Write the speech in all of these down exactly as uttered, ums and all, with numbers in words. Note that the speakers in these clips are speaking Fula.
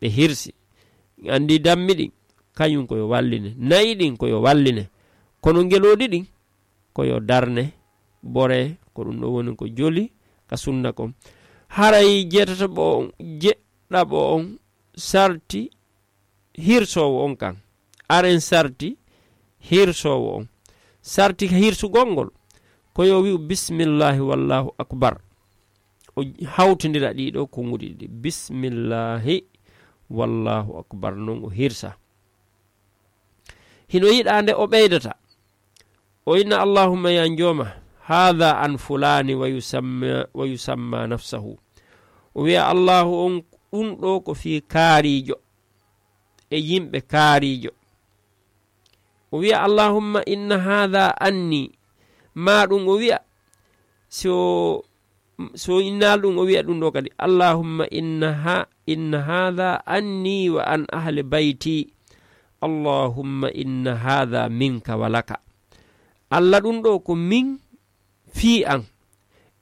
ɓe hirsi. Anndi dammi ɗin, kañum ko yo walline. Nayi ɗin ko yo walline. Kono ngelooɗi ɗin, ko yo darne, bore, ko ɗum ɗo woni ko joli ka sunna kon. Haray jeetataɓo on, jeɗɗaɓo on, sarti hirsoowo on kan. Aren sarti hirsoowo on. Sarti hirsugol ngol, ko yo wi'u bismillahi wallahu akbar. O hawtindira ɗiɗo konguɗi ɗiɗi. Bismillahi wallahu akbar. Non o hirsa. Hino yiɗaa nde o ɓeydata. O inna allahumma ya njooma, haada an fulaani wa yusamma, wa yusamma nafsahu. O wi'a allahu on ɗum ɗo ko fii kaariijo. E yimɓe kaariijo. O wi'a allahumma inna haada anni. Ma ɗum o wi'a, so, so innaali ɗum o wi'a ɗum ɗo kadi, allahumma inna ha, inna haada anni wa an ahli bayti. Allahumma inna haada minka wa laka. Allah ɗum ɗo ko min fii an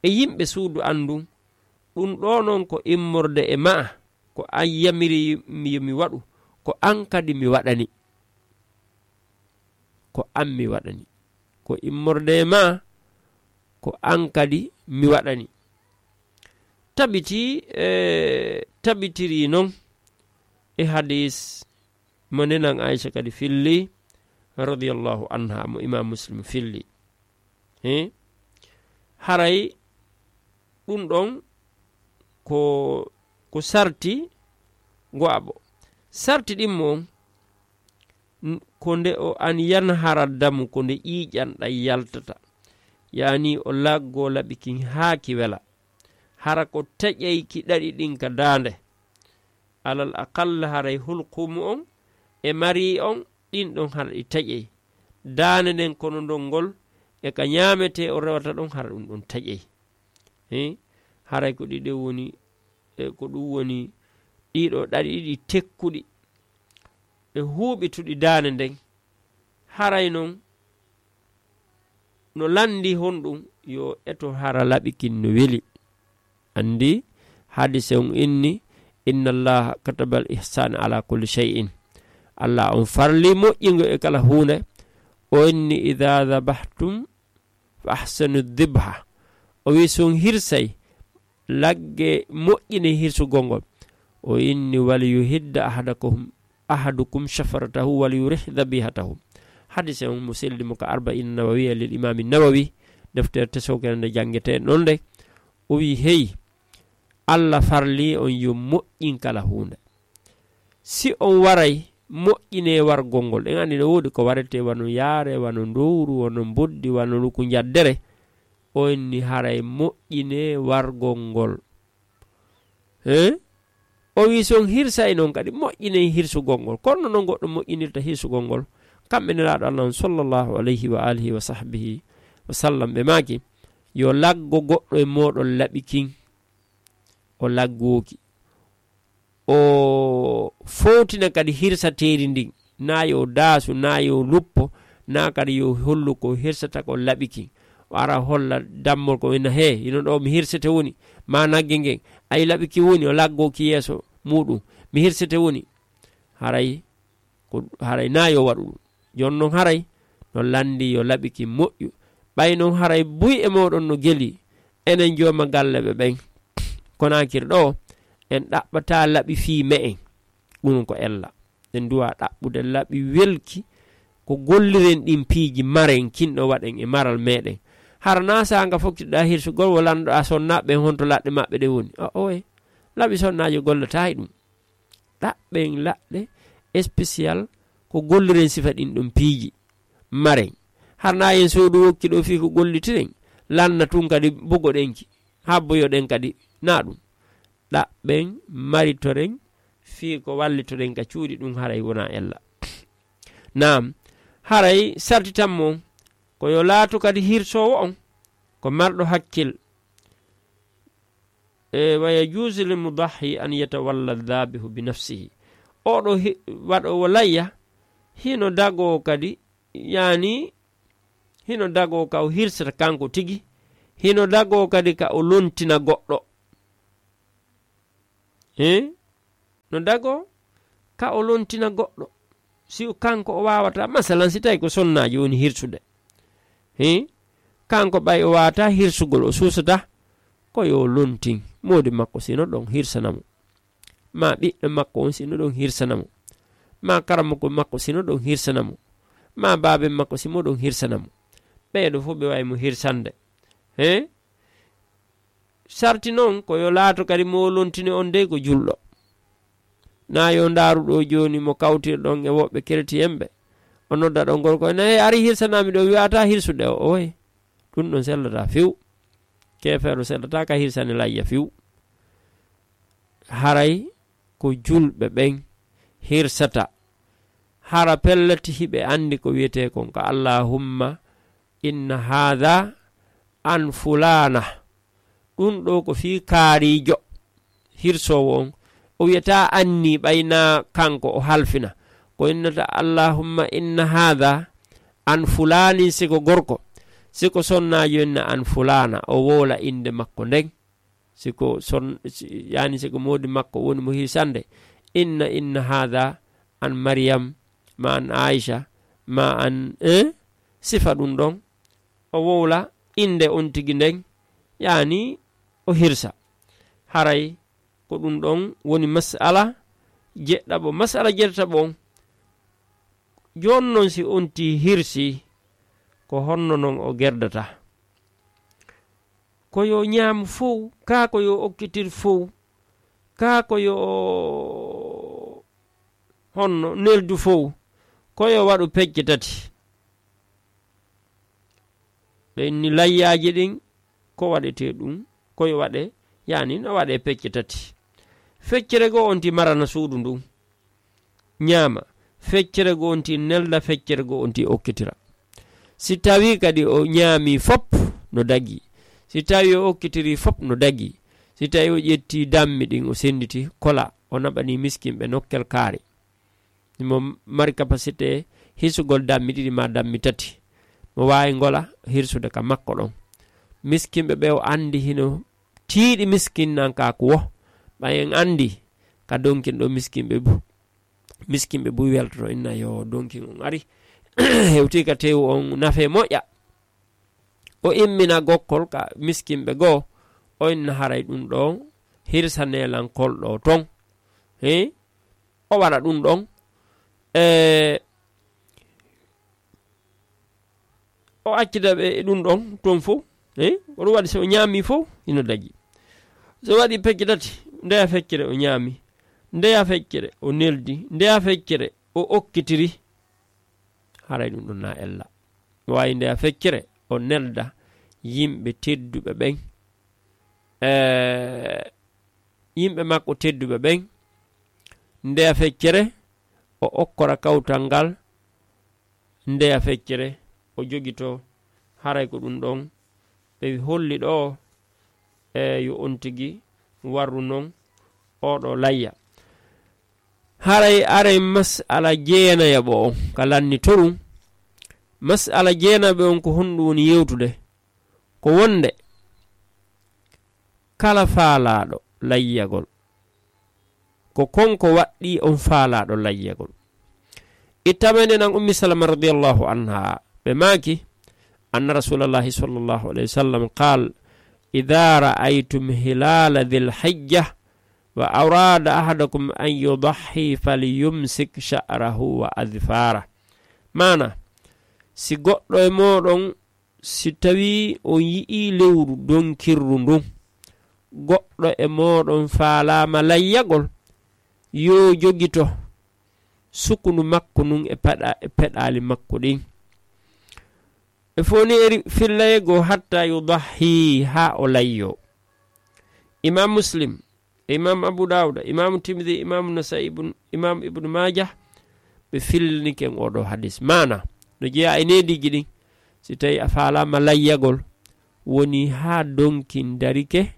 e yimɓe suudu an ndun. Ɗum ɗo non ko immorde e ma'a, ko an yamiri mi, yo mi waɗu, ko an kadi mi waɗani. Ko an mi waɗani. Ko immorde e ma'a, ko an kadi mi waɗani. Tabiti, e, tabitiri non e hadis mo nenan Aisha kadi filli, radiyallahu anha, mo Imam Muslim filli. He? Haray ɗum ɗon ko, ko sarti go'aɓo. Sarti ɗimmo on, n-, ko nde o an yanhara damu, ko nde ƴiiƴan ɗan yaltata. Yani o laggo laɓi kin haa ki wela. Hara ko taƴay ki ɗaɗi ɗin ka daande. Alal aqalla haray hulqumu on e mari on, ɗin ɗon hara ɗi taƴay. Daande nden kono ndon ngol e ka ñaametee o rewata ɗon hara ɗum ɗon taƴay. He? Haray ko ɗiɗo woni, e ko ɗum woni ɗiɗo ɗaɗi ɗiɗi tekkuɗi e huuɓituɗi daande nden. Haray non no lanndi honɗum yo eto hara laɓi kin no weli. Anndi hadise on inni, inna allaha katabal ihsana ala kulli shay'in. Allah on farli moƴƴingo e kala huunde. O inni, idha dhabahtum fa ahsinu dhibha. O wi, si on hirsay, lagge moƴƴine hirsugol ngol. O inni, wal yuhidda ahadakum, ahadukum shafaratahu wal yurih dhabihatahu. Hadise on mo selli mo ka Arba'in Nawawiya lil Imami Nawawi, deftere tesokere nde jangete non nde. O wi, hey, Allah farli on yo moƴƴin kala huunde. Si on waray, moƴƴine wargol ngol. En anndi no woodi ko warete wano yaare, wano ndowru, wano mboddi, wano luku njaddere. O inni haray moƴƴine wargol ngol. He? O wi, si on hirsay non kadi, moƴƴinay hirsugol ngol. Kono non goɗɗo moƴƴinirta hirsugol ngol. Kamɓe Nelaaɗo Allah on, sallallahu alayhi wa alihi wa sahbihi wa sallam, ɓe maaki, yo laggo goɗɗo e mooɗon laɓi kin. O laggooki. O fowtina kadi hirsateeri ndin. Na yo daasu, na yo luppo, na kadi yo hollu ko hirsata ko laɓi kin. O ara holla dammol ko ina he, ino ɗo mi hirsete woni, ma nagge ngen. Ay laɓi ki woni, o laggoo ki yeeso muɗum. Mi hirsete woni. Haray, ko, haray na yo waɗu ɗum. Jon non haray, no lanndi yo laɓi ki moƴƴu. Ɓay non haray buy e mooɗon no geli, enen jooma galle ɓe ɓen. Konaakiri ɗo, en ɗaɓɓata laɓi fii me'en. Ɗum ko ella. En duwa ɗaɓɓude laɓi welki ko golliren ɗin piiji maren kinɗo waɗen e maral meɗen. Hara na saanga fokkitiɗa hirsugol wo lanɗo a sonna ɓen honto laɗɗe maɓɓe ɗe woni. A oye, laɓi sonnaajo gollata e ɗum. Ɗaɓɓen laɗɗe spécial ko golliren sifa ɗin ɗon piiji maren. Hara na en soodu wokki ɗo fii ko gollitiren, lanna tun kadi bugoɗenki, habboyoɗen kadi na ɗum. Ɗaɓɓen maritoren fii ko wallitoɗen ka cuuɗi ɗum haray wona ella. Naam, haray sartitan mo ko yo laatu kadi hirsoowo on ko marɗo hakkil. E, wa yajuusu lil mudahhi an yatawalla dhabihu bi nafsihi. Oɗo hi-, waɗoowo layya, hino dagoo kadi, yani, hino dagoo ka o hirsata kanko tigi, hino dagoo kadi ka o lontina goɗɗo. Eh? no dago ka o lontina goɗɗo. Si o kanko o waawata, masalan, si tawi ko sonnaajo woni hirsude, he, kanko ɓay o waawata hirsugol, o suusata, ko yo lontin moodi makko sino ɗon hirsana mo, ma ɓiɗɗo makko on sino ɗon hirsana mo, ma karamoko makko sino ɗon hirsana mo, ma baaben makko simo ɗon hirsana mo. Ɓeeɗo fof ɓe wawi mo hirsande. He, sarti noon ko yo laato kadi mo lontini on dey ko julɗo. Na yo ndaaru ɗo jooni mo kawtirɗon e woɓɓe keretiyen ɓe. O nodda ɗon gorko ene, "Hey, ari hirsanami ɗo, wi'ata hirsude o." Oye, ɗum ɗon sellata few. Keefeero sellata ka hirsani layya few. Haray ko julɓe ɓen hirsata. Hara pellet hiɓe anndi ko wiyetee kon ka "Allahumma inna haadha an fulaana." Ɗum ɗo ko fii kaariijo, hirsoowo on. O wiyata anni ɓayna kanko o halfina. Ko innata, "Allahumma inna haadha an fulaanin," si ko gorko. Si ko sonnaajo, inna "an fulaana." O wowla innde makko nden. Si ko son-, si, yani si ko moodi makko woni mo hirsande, "Inna, inna haadha an Maryam, ma an Aisha, ma an," eh? Sifa ɗum ɗon. O wowla innde on tigi nden, yani o hirsa. Haray ko ɗum ɗon woni mas'ala jeɗɗaɓo. Mas'ala jeɗɗaɓo on, jooni non si on ti hirsi, ko honno non o gerdata? Ko yo ñaam fow, kaa ko yo okkitir fow, kaa ko yo honno neldu fow, ko yo waɗu pecce tati. Ɓe inni layyaaji ɗin, ko waɗetee ɗum, ko yo waɗe, yani no waɗe pecce tati. Feccere goo on ti marana suudu ndun, ñaama. Feccere goo on ti nelda, feccere goo on ti okkitira. Si tawi kadi o ñaami fop, no dagi. Si tawi o okkitiri fop, no dagi. Si tawi o ƴetti dammi ɗin, o senditi, kola, o naɓani miskinɓe nokkel kaari. Mo mari capacité hisugol dammi ɗiɗi ma dammi tati, mo waawi ngola hirsude ka makko ɗon. Miskinɓe ɓe o anndi hino tiiɗi miskinnankaku wo, ɓay en anndi ka donkin ɗo miskinɓe bu-, miskinɓe buy weltoto, inna yo donkin on ari, hewti ka tewu on nafe moƴƴa. O immina gokkol ka miskinɓe goo, o inna haray ɗum ɗo hirsanelan kol ɗo ton. He? O waɗa ɗum ɗon. E, o accida ɓe e ɗum ɗon ton fof. He? Ko ɗum waɗi so o ñaami fof, hino daƴi. So waɗi pecce tati, ndeya feccere o ñaami, ndeya feccere o neldi, ndeya feccere o okkitiri. Haray ɗum ɗon na ella. O waawi ndeya feccere, o nelda yimɓe tedduɓe ɓen. E, yimɓe makko tedduɓe ɓen, ndeya feccere, o okkora kawtal ngal, ndeya feccere, o jogito. Haray ko ɗum ɗon ɓe holli ɗo, e yo on tigi warru non oɗo layya. Haray aray mas'ala jeenayaɓo on ka lanni torum. Mas'ala jeenaɓe on ko honɗum woni yewtude? Ko wonde kala faalaaɗo layyagol, ko konko waɗɗi on faalaaɗo layyagol. Ittameende nan Ummi Salama radiyallahu anha, ɓe maaki, anna Rasulallahi sallallahu alayhi wa sallam qaal, "Idha ra'aytum hilala dhil hijja wa arada ahadukum an yudahhi falyumsik sha'rahu wa adhfara." Maana, si goɗɗo e mooɗon, si tawi on yi'i lewru donkirru ndun, goɗɗo e mooɗon faalaama layyagol, yo jogito sukundu makko ndun e paɗa-, e peɗaali makko ɗin. E foni eri fillayego hatta yudahhi, haa o layyo. Imam Muslim, Imam Abu Dawuda, Imam Tirmidhi, Imam Nasa'i, Ibn, Imam Ibn Majah, ɓe fillini ken oɗo hadis. Maana, no jeyaa e neediiji ɗin, si tawi a faalaama layyagol, woni haa donkin darike,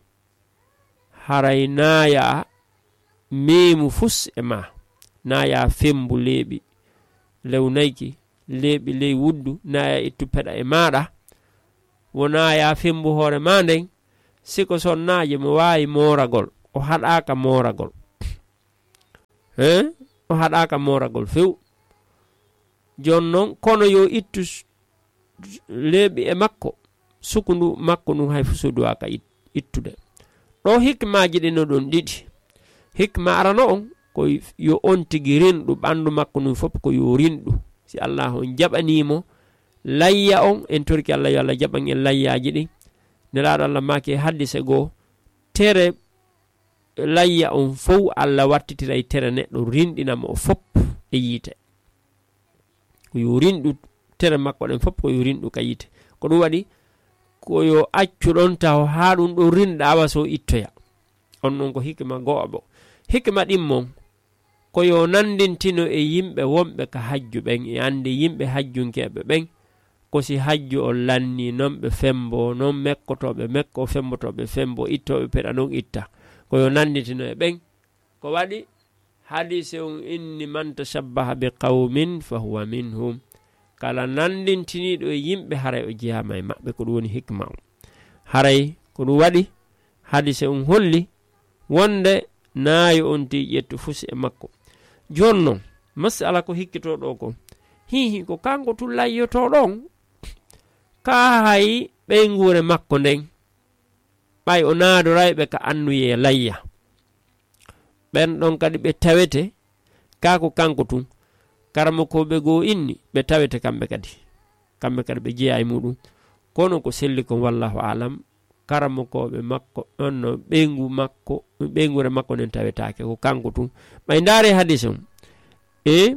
haray naaya meemu fus e ma, naaya fembu leeɓi lew nayki, leeɓi ley wuddu, naaya ittu peɗa e maaɗa, wonaa ya fembu hoore ma nden, si ko sonnaajo mo waawi mooragol, o haɗaaka mooragol. He? O haɗaaka mooragol few. Jooni noon, kono yo ittu s-, leeɓi e makko, sukundu makko ndun hay fo suuduwaaka it-, ittude. Ɗo hikmaaji ɗin no ɗon ɗiɗi. Hikma arano on, ko yo on tigi rinɗu ɓanndu makko ndun fof, ko yo rinɗu. Si Allah on jaɓanii mo, layya on, en torki Allah yo Allah jaɓan en layyaaji ɗin. Nelaaɗo Allah maaki e hadise goo, tere layya on fow Allah wattitiray tere neɗɗo rinɗina mo o fof e yiite. Ko yo rinɗu tere makko ɗen fof, ko yo rinɗu ka yiite. Ko ɗum waɗi, ko yo accu ɗon taho haa ɗum ɗon rinɗa awa so ittoya. On non ko hikma go'o bo. Hikma ɗimmon, ko yo nanndintino e yimɓe wonɓe ka hajju ɓen, e annde yimɓe hajjunkeeɓe ɓen, ko si hajju on lannii, non ɓe femboo, non mekkotooɓe mekkoo, fembotooɓe femboo, ittooɓe peɗa non itta. Ko yo nanndintino e ɓen. Ko waɗi hadise on inni, "Man tashabbaha bi qawmin fa huwa minhum." Kala nanndintiniiɗo e yimɓe, haray o jeyaama e maɓɓe. Ko ɗum woni hikma on. Haray ko ɗum waɗi hadise on holli wonde naayo on tigi ƴettu fusi e makko. Jooni non, masala ko hikkitoo ɗoo ko, hihi, ko kanko tun layyotoo ɗon, kaa hay ɓeynguure makko nden, ɓay o naadoray ɓe ka annuyee layya. Ɓen ɗon kadi ɓe tawete, kaa ko kanko tun. Karamokooɓe goo inni, ɓe tawete kamɓe kadi. Kamɓe kadi ɓe jeyaa e muɗum. Kono ko selli kon, wallahu aalam, karamokooɓe makko, on no ɓeyngu makko, ɓeynguure makko nden tawetaake, ko kanko tun. Ɓay ndaare hadis on. E,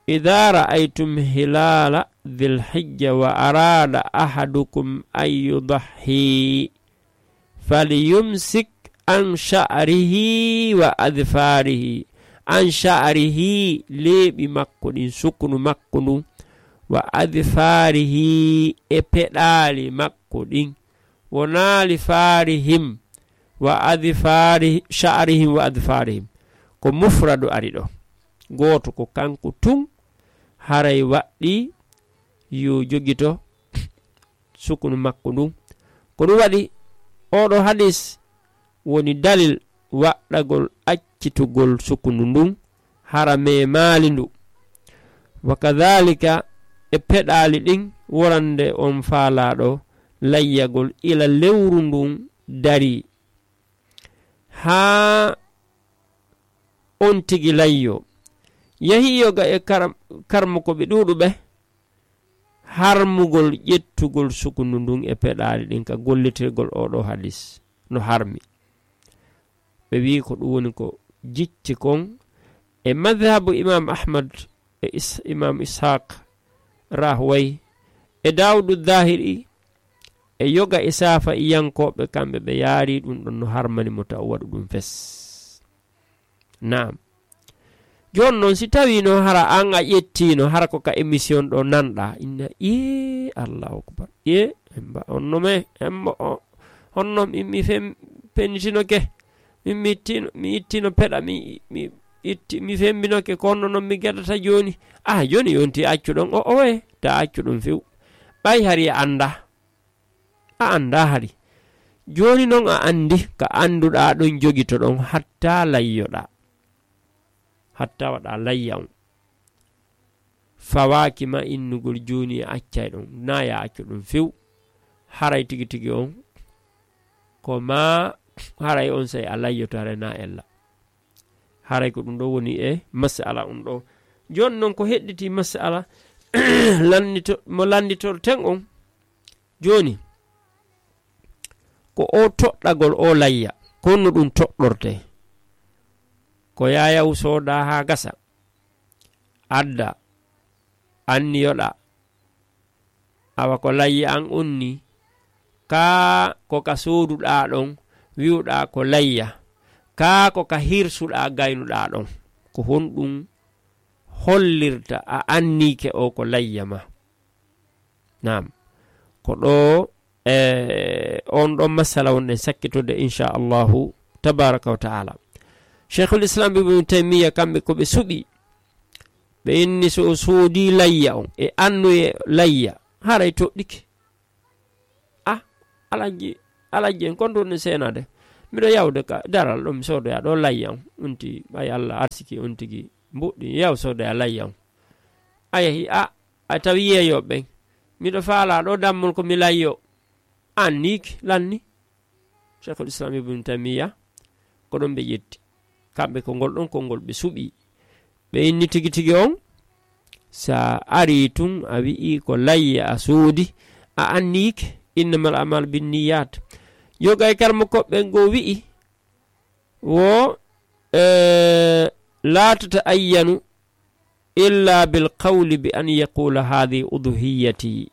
"Idha ra'aytum hilala dhil hijja wa arada ahadukum an yudahhi, falyumsik an sha'rihi wa adhfarihi." An sha'rihi, leeɓi makko ɗin, sukunu makko ndun, wa adhfarihi, e peɗaali makko ɗin. Wonaa li farihim wa adhfari-, sha'rihim wa adhfarihim. Ko mufradu ari ɗo. Gooto ko kanko tun, haray waɗɗii yo jogito sukunu makko ndun. Ko ɗum waɗi, oo ɗoo hadis woni dalil waɗɗagol accitugol sukunu ndun, hara memaali ndu. Wa kadhalika e peɗaali ɗin, worande on faalaaɗo layyagol ila lewru ndun darii, haa on tigi layyoo. Yahii yoga e karam-, karmokooɓe ɗuuɗuɓe, harmugol ƴettugol sukunu ndun e peɗaali ɗin ka gollitirgol oo ɗoo hadis no harmi. Ɓe wi'i ko ɗum woni ko jicci kon e madhabu Imam Ahmad e Is-, Imam Ishaq Rahway e Dawudu Zahiri e yoga e safa'iyankoɓe, kamɓe ɓe yaari ɗum ɗon no harmani mo taw waɗu ɗum fes. Naam. Jooni noon, si tawiino hara aan a ƴettiino, hara ko ka émission ɗo nanɗaa, inna, "Ee, Allahu Akbar. Ee, emba, on no me, emba, o, on no mi, mi fem-, penitinoke. Mi, mi ittino, mi ittino peɗa, mi, mi itti, mi fembinoke, ko honno noon mi geɗata jooni?" Ah, jooni yonti accu ɗon, o, owe, ta accu ɗum few. Ɓay hari a anndaa. A anndaa hari. Jooni noon a anndi ka annduɗaa ɗon, jogitoɗon hatta layyoɗaa. Hatta waɗaa layya on. Fawaaki ma innugol jooni a accay ɗon. Naa ya accu ɗum few. Haray tigi tigi on. Ko ma haray on sey a layyoto haray naa ella. Haray ko ɗum ɗo woni e masala on ɗo. Jooni noon ko hedditi masala lannito-, mo lannditorten on. Jooni, ko o toɗɗagol o layya, ko honno ɗum toɗɗortee? Ko yaayaw soodaa haa gasa, adda, anniyoɗaa, awa ko layya an on nii, kaa ko ka sooduɗaa ɗon, wi'uɗaa ko layya, kaa ko ka hirsuɗaa gaynuɗaa ɗon, ko honɗum hollirta a anniike o ko layya ma? Naam. Ko ɗo, e, on ɗon masala wonɗen sakkitorde, inchallahu tabaraka wa taala. Cheikhul Islam Ibnu Taymiya, kamɓe ko ɓe suɓi, ɓe inni so o soodi layya on e annuye layya, haray toɗɗike. Ah, alajji, alajji en, kon ɗon ne seenade. Miɗo yawde ka daral ɗo, mi soodoya ɗo layya on. Unti, ɓay Allah arsiki on tigi mbuɗɗi, yaw soodoya layya on. A yahi, a, a tawi yeeyooɓe ɓen. Miɗo faalaa ɗo dammol ko mi layyo. An niiki, lanni. Cheikhul Islam Ibn Taymiya, ko ɗon ɓe ƴetti. Kamɓe ko ngol ɗon konngol ɓe suɓi. Ɓe inni tigi tigi on, sa ari tun a wi'i ko layya a soodi, a anniike, innamal a'malu binniyat. Yoga e karmo koɓɓe ngo wi'i, wo, eh, la tata'ayyanu illa bil qawli bi an yaqula hadhihi udhiyati.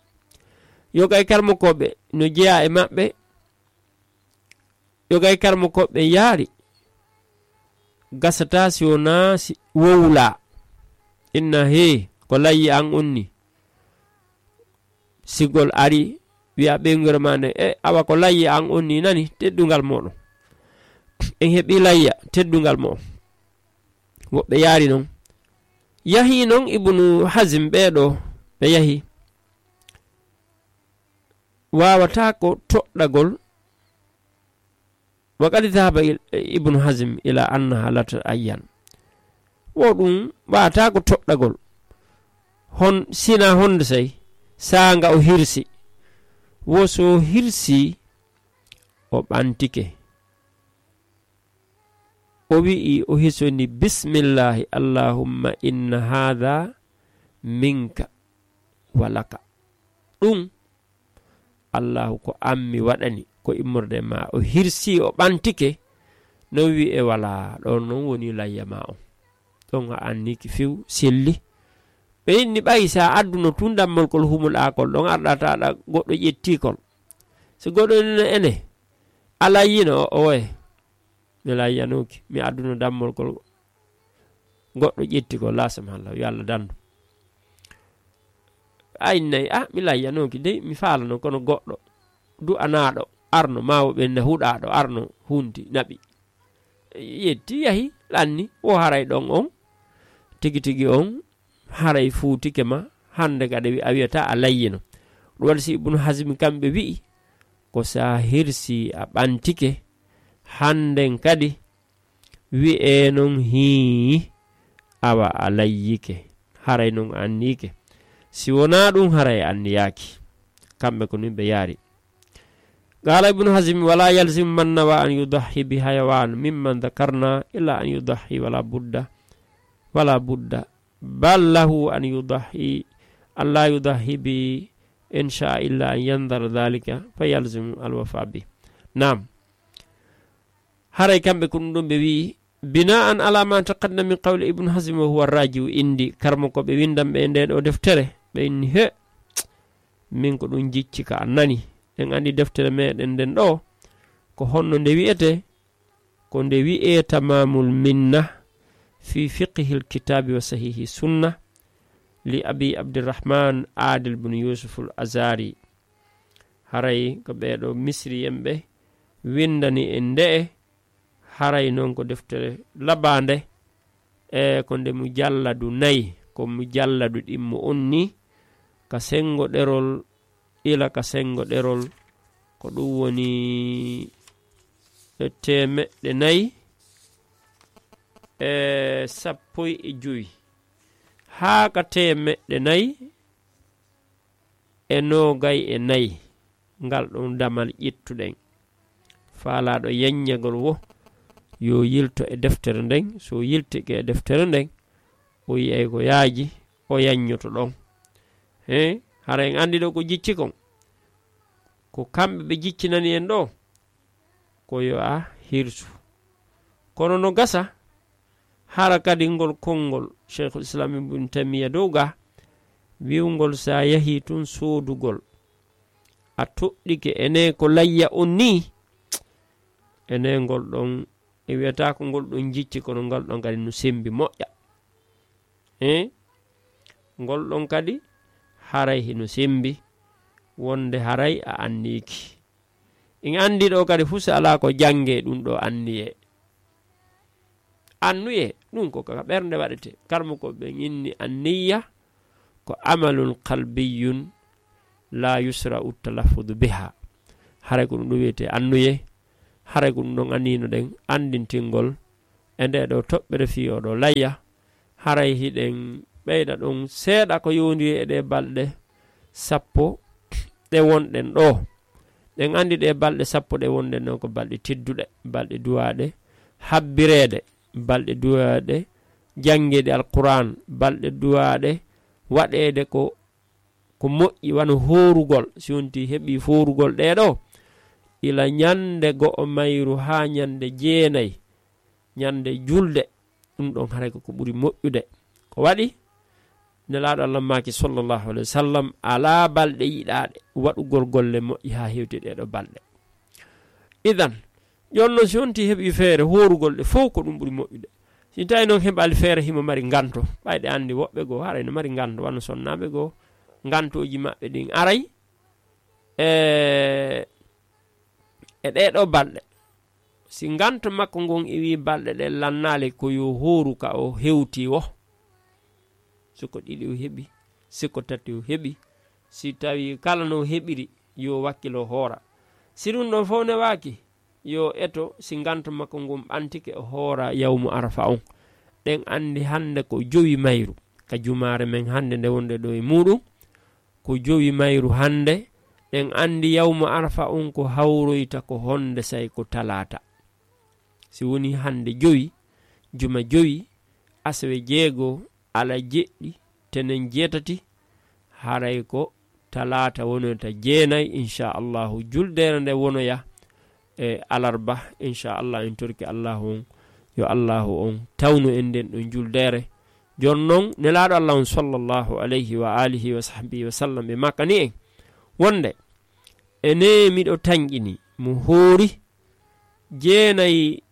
Yoga e karmo koɓɓe no jeya e maɓɓe, yoga e karmo koɓɓe yaari, gasata si wona si wowla. Inna he, ko layyi an onni. Sigol ari, wi'a ɓeynguure ma nde, e, awa ko layyi an onni nani, teddungal moɗon. En heɓi layya, teddungal moɗon. Woɓɓe yaari non. Yahi non Ibnu Hazm ɓee ɗo, ɓe yahi. Waawata ko toɗɗagol. Wa qad dhahaba il-, Ibnu Hazm ila annaha la tata'ayyan. Wo ɗum waawata ko toɗɗagol. Hon, sina honde sey, saanga o hirsi. Wo so hirsi, o ɓantike. O wi'i, o hisoni, "Bismillahi, Allahumma inna hadha minka wa laka." Ɗum, Allahu, ko an mi waɗani, ko immorde ma. O hirsi, o ɓantike, non wi'e, "Wala, ɗon non woni layya ma on. Ɗon a anniki few, selli." Ɓe inni, ɓay sa adduno tun dammol kol humul akol, ɗon arɗa taɗa goɗɗo ƴetti kol. Si goɗɗo nino ene, a layyino o, oye. Mi layyanooki, mi adduno dammol kol, goɗɗo ƴetti ko, lasam halla, yo Allah dandu. A innay, a, mi layyanooki dey, mi faalano, kono goɗɗo du'anaaɗo arno, maa wo ɓen na huɗaaɗo arno, hunti, naɓi. Yetti, yahi, lanni, wo haray ɗon on, tigi tigi on, haray fuutike ma, hande kadi wi-, a wiyata a layyino. Ɗum waɗi si Ibnu Hazmi kamɓe wi'i, ko sa hirsi a ɓantike, handen kadi wi'e non hii, awa a layyike, haray non anniyike. Si wonaa ɗum, haray anniyaaki. Kamɓe ko nun ɓe yaari. Qaala Ibnu Hazmi, "Wala yalzimu man nawa an yudahi bi hayawan mimman dhakarna illa an yudahi wala budda, wala budda. Bal lahu an yudahi, an la yudahi bi in shaa illa an yandara dhalika fa yalzimu alwafa bi." Naam. Haray kamɓe ko ɗum ɗon ɓe wi'i, bina'an ala ma taqaddama min qawli Ibnu Hazm wa huwa raji'u indi, karmo ko ɓe windan ɓe e nde ɗo deftere, ɓe inni, he, min ko ɗum jicci ka an nani. Ɗen andi deftere meɗen nden ɗo, ko honno nde wi'ete? Ko nde wi'e Tamamul Minna fi fiqhil kitabi wa sahihi sunna li Abi Abdirrahman Adil bin Yusuf al Azari. Haray ko ɓeeɗo Misriyen ɓe windani en nde'e, haray non ko deftere labaande, e ko nde mujalladu nayi, ko mujalladu ɗimmo on ni, ka sengo ɗerol ila ka sengo ɗerol, ko ɗum woni e teemeɗɗe nayi e sappo e jowi, haa ka teemeɗɗe nayi e noogay e nayi. Ngal ɗon damal ƴettuɗen. Faalaaɗo yanñagol wo yo yilto e deftere nden, so yiltike e deftere nden, o yi'ay ko yaaji, o yanñoto ɗon. He, hara en andi ɗo ko jicci kon. Ko kamɓe ɓe jiccinani en ɗo, ko yo a hirsu. Kono no gasa, hara kadi ngol konngol Cheikhul Islam Ibn Taymiya dow ga, wi'ungol sa yahi tun soodugol, a toɗɗike ene ko layya on ni, ene ngol ɗon, e wiyata ko ngol ɗon jicci, kono ngal ɗon kadi no sembi moƴƴa. He? Ngol ɗon kadi haray hino sembi, wonde haray a anniiki. En andi ɗo kadi fuu si alaa ko jannge ɗum ɗo anniye. Annuye, ɗum ko ka ɓernde waɗete. Karmo ko ɓe inni anniya, ko amalun qalbiyun la yusra'u talaffudu biha. Haray ko ɗum ɗo wiyete annuye, Haray ko ɗum ɗon anniyno ɗen anndintingol e ndee ɗoo toɓɓere fii oo ɗoo layya. Haray hiɗen ɓeyda ɗon seeɗa ko yowondiri e ɗee balɗe sappo ɗe wonɗen ɗoo. Ɗen anndi ɗee balɗe sappo ɗe wonɗen ɗoo ko balɗe tedduɗe, balɗe duwaaɗe habbireede, balɗe duwaaɗe janngeede Alquraan, balɗe duwaaɗe waɗeede ko, ko moƴƴi, wano hoorugol. Si wonti heɓi hoorugol ɗee ɗoo, ila ñannde go'o mayru haa ñannde jeenay, ñannde julde, ɗum ɗon haray ko ko ɓuri moƴƴude. Ko waɗi? Nelaaɗo Allah maaki, sallallahu alayhi wa sallam, alaa balɗe yiɗaaɗe waɗugol golle moƴƴe haa hewti ɗee ɗoo balɗe. Idan, jooni non si wonti heɓi feere hoorugol ɗe fow, ko ɗum ɓuri moƴƴude. Si tawi non heɓaali feere, himo mari nganto, ɓayde anndi woɓɓe goo haray no mari nganto, wano sonnaaɓe goo, ngantooji maɓɓe ɗin aray e, e ɗee ɗoo balɗe. Si nganto makko ngon iwi balɗe ɗen lannaali, ko yo hooru ka o hewti wo. Si ko ɗiɗi o heɓi, si ko tati o heɓi, si tawi kala no heɓiri, yo wakkilo hoora. Si ɗum ɗon fow newaaki, yo eto, si nganto makko ngon ɓantike, o hoora yawmu Arafa on. Ɗen anndi hannde ko jowi mayru ka jumaare men hannde nde wonɗen ɗoo e muuɗum. Ko jowi mayru hannde, ɗen anndi yawmu Arafa on ko hawroyta ko honde say ko talaata. Si woni hannde jowi, juma jowi, asewe jeego, ala jeɗɗi, tenen jeetati, haray ko talaata wonoyta jeenay, insha Allahu, juldeere nde wonoya e alarba, insha Allah, en torki Allahu on, yo Allahu on tawnu en nden ɗon juldeere. Jooni non, Nelaaɗo Allah on, sallallahu alayhi wa alihi wa sahbihi wa sallam, ɓe maakani en wonde, ene miɗo tanƴini mo hoori jeenay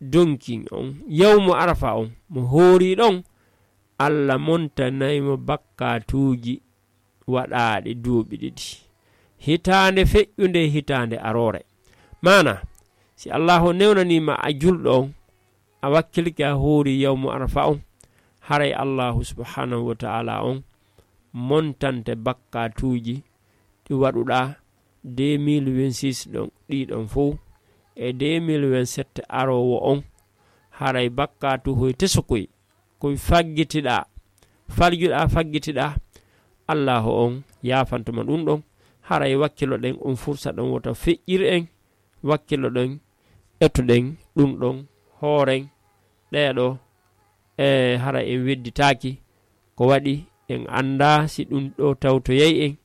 donkin on, yawmu Arafa on, mo hoori ɗon, Allah montanay mo bakkaatuuji waɗaaɗi duuɓi ɗiɗi. Hitaande feƴƴunde e hitaande aroore. Maana, si Allaahu newnanii ma a julɗo on, a wakkilike a hoori yawmu Arafa on, haray Allaahu subhaanahu wa ta'ala on montante bakkaatuuji ɗi waɗuɗaa deux mille vingt-six ɗon, ɗii ɗon fow, e deux mille vingt-sept aroowo on, haray bakkaatu hoy tesokoy, koy faggitiɗaa, faljuɗaa, faggitiɗaa, Allaahu on yaafanto ma ɗum ɗon. Haray wakkiloɗen on fursa ɗon, wota feƴƴir en, wakkiloɗen, etoɗen ɗum ɗon, hooren ɗee ɗoo, e hara en wedditaaki. Ko waɗi en anndaa si ɗum ɗoo tawtoyay en.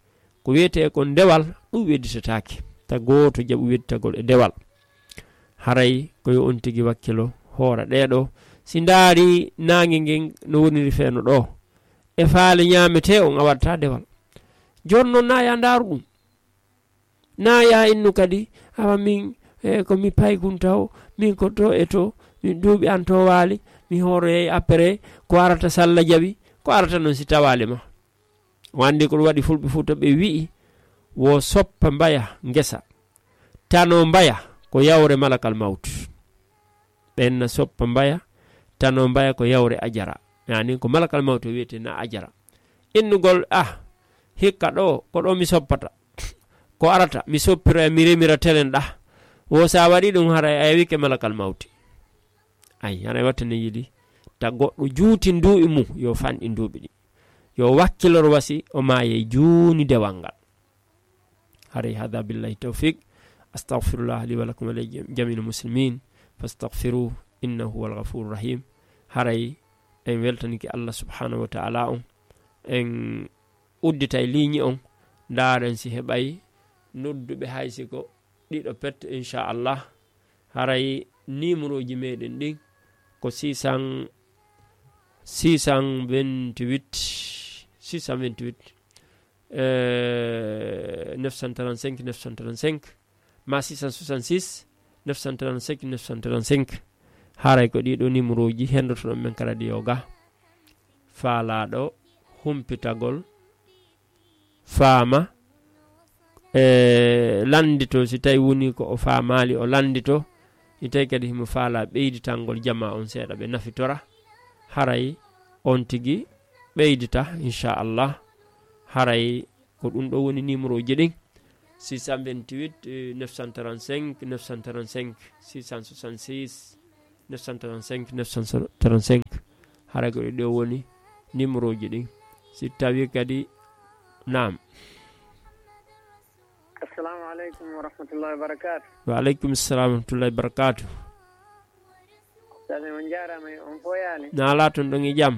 Ko wiyetee kon dewal, ɗum wedditataake. Ta gooto jaɓu wedditagol e dewal. Haray ko yo on tigi wakkilo hoora ɗee ɗoo. Si ndaari naange ngen no woniri feeno ɗoo, e faale ñaametee on, a waɗataa dewal. Jooni non naa yaa ndaaru ɗum. Naa yaa innu kadi, awa min, e, ko mi paykun taw, min ko to e to, min duuɓi an to waali, mi hooroyay après, ko arata salla jaɓi, ko arata non si tawaali ma. O anndi ko ɗum waɗi fulɓe Fuuta ɓe wi'i, wo soppa mbaya ngesa, tano mbaya ko yawre malakal mawtu. Ɓen na soppa mbaya, tano mbaya ko yawre ajara. Yani ko malakal mawtu wiyete na ajara. Innugol, ah, hikka ɗo, ko ɗo mi soppata. Ko arata, mi soppiroya, mi remira telen ɗa. Wo sa waɗi ɗum, haray a yawike malakal mawti. Ay, haray wattane yiɗi. Ta goɗɗo juuti nduuɓi mum, yo fanɗi nduuɓi ɗi. Yo wakkilor wasi, o maaye juuni dewal ngal. Haray hada billahi tawfiq. Astaghfirullah li wa lakum wa li jami'il muslimin. Fastaghfiruh, innahu huwal ghafurur rahim. Haray en weltanike Allah subhanahu wa ta'ala on. En udditay liiñi on. Ndaaren si heɓay nodduɓe hay si ko ɗiɗo pet, inchallah. Haray nimuroji meɗen ɗin ko six cent, six cent vingt-huit, six cent vingt-huit, euh, neuf cent trente-cinq, neuf cent trente-cinq, ma six cent soixante-six, neuf cent trente-cinq, neuf cent trente-cinq. Haray ko ɗiɗo nimuroji hendotoɗon men ka radio ga. Faalaɗo humpitagol faama, e lanndito, si tawi woni ko o faamaali, o lanndito. Si tawi kadi himo faala ɓeyditangol jama on seeɗa, ɓe nafitora, haray on tigi ɓeydita, inchallah. Haray ko ɗum ɗo woni numéro ji ɗin. six cent vingt-huit, euh, neuf cent trente-cinq, neuf cent trente-cinq, six cent soixante-six, neuf cent trente-cinq, neuf cent trente-cinq. Hara ko ɗo woni numéro ji ɗin. Si tawi kadi, naam. Assalamu aleykum wa rahmatullahi wa barakatuh. Wa aleykum salam wa rahmatullahi wa barakatuh. Sani on jaarama, on foyaani. Na ala ton ɗon e jam.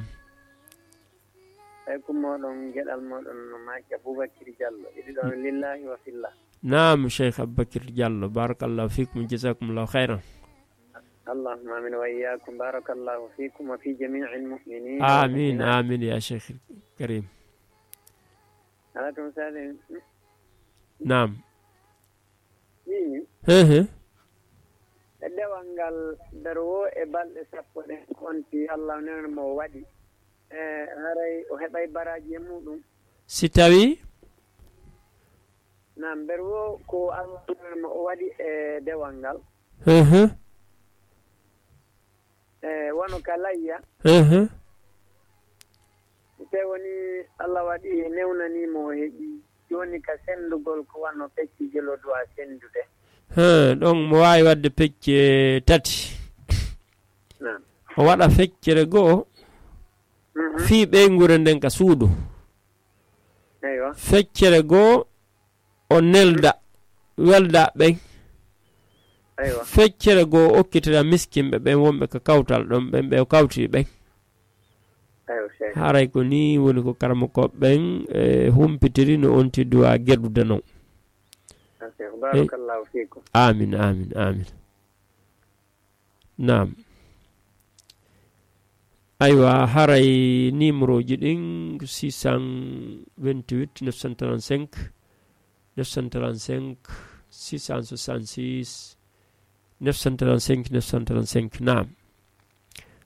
Ay, ko moɗon geɗal moɗon no Maaki Abubakir Jallo. Iɗi ɗon lillahi wa fillah. Naam, Cheikh Abubakir Jallo. Barakallahu fikum, jazakumullahu khairan. Allahumma amin wa iyyakum. Barakallahu fikum wa fi jami'il mu'minin wal mu'minat. Amin, amin ya Cheikh Karim. Ala tun sali. Naam. Ɗi. He, he. E dewal ngal, nder wo e balɗe sappo ɗen, ko on ti Allah newna mo o waɗi. E, haray o heɓay baraji e muɗum. Si tawi? Naam, nder wo ko Allah newna mo o waɗi e dewal ngal. He, he. E, wano ka layya. Ehe. Te woni Allah waɗi newnani mo o heɓi. Jooni ka sendugol ko wano pecce jelo duwa sendude. He, ɗon mo waawi waɗde pecce tati. Naam. O waɗa feccere goo, mhm, fii ɓeynguure nden ka suudu. Eywa. Feccere goo, o nelda, welda ɓen. Eywa. Feccere goo, o okkitira miskinɓe ɓen wonɓe ka kawtal ɗon, ɓen ɓe o kawti ɓen. Eywa, Cheikh. Haray ko nii woni ko karamokooɓe ɓen, e, humpitiri no on ti duwa geɗude non. Ok, barakallahu fikum. Amin, amin, amin. Naam. Aywa, haray numéro ji ɗin, six cent vingt-huit, neuf cent trente-cinq, neuf cent trente-cinq, six cent soixante-six, neuf cent trente-cinq, neuf cent trente-cinq, naam.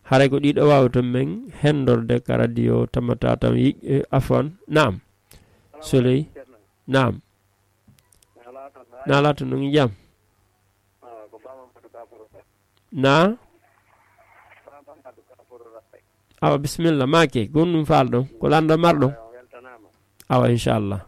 Haray ko ɗiɗo wawata men hendorde ka radio tamata tan yi-, eh, afwan, naam. Soleil, naam. Na laata no jam. Na? Awa, bisimilla, maake, gonɗum faalɗo, ko lanɗo marɗo? Awa, inchallah.